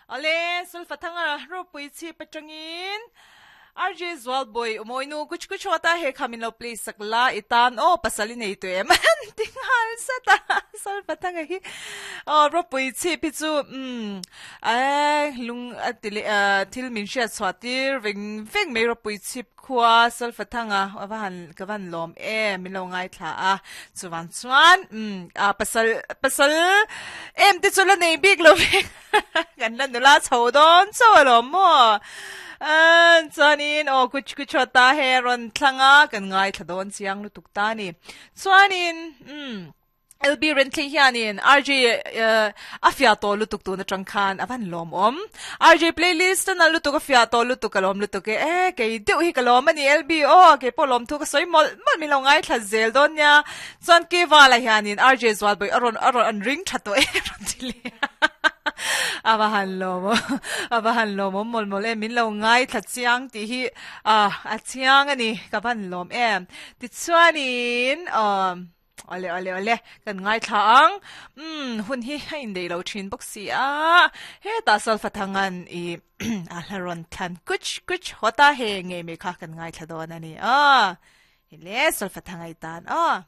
Awle, Sulfathanga ropui chhip atangin RJ Zualbawi Umawi-nu kuch kuch hawt a, he kha min lo play sak la i tan aw pasal i nei tawh em an ti nghal zat a Sulfathanga hi aw ropui chhip hi chu umm eh lung a ti leh thil min hriat chhuah tir veng veng mai ropui chhip Khua Salfathanga a va han ka van lawm em min lo ngaithla a chuvang chuan umm a pasal pasal em te chu la nei bik lo ve kan la nula chho dawn chauh alawm maw ah chuanin aw kuch kuch haw ta he rawn thlang a kan ngaithla dawn chiang lutuk ta a ni chuanin umm. LB Renthlei hianin RJ a fiah tawh lutuk tun atang khan a van lawm awm. RJ playlist a nalh lutuk a fiah tawh lutuk ka lawm lutuk e. E kei deuh hi ka lawm a ni LB aw kei pawh lawm thu ka sawi mawlh mawlh min lo ngaithla zel dawn nia. Chuan Kevala hianin RJ Zualbawi a rawn a rawn an ring tha tawh e rawn ti leh a. A va han lawm awm a va han lawm awm mawlh mawlh e min lo ngaithla chiang tih hi a chiang a ni ka van lawm em. Tichuanin aw. Awle awle awle kan ngaithla ang umm hun hi a indeih lo thin bawk si a hetah Salfathangan i a hla rawn thlan kuch kuch hawt a he ngei mai kha kan ngaithla dawn a ni aw hele Salfathanga i tan aw.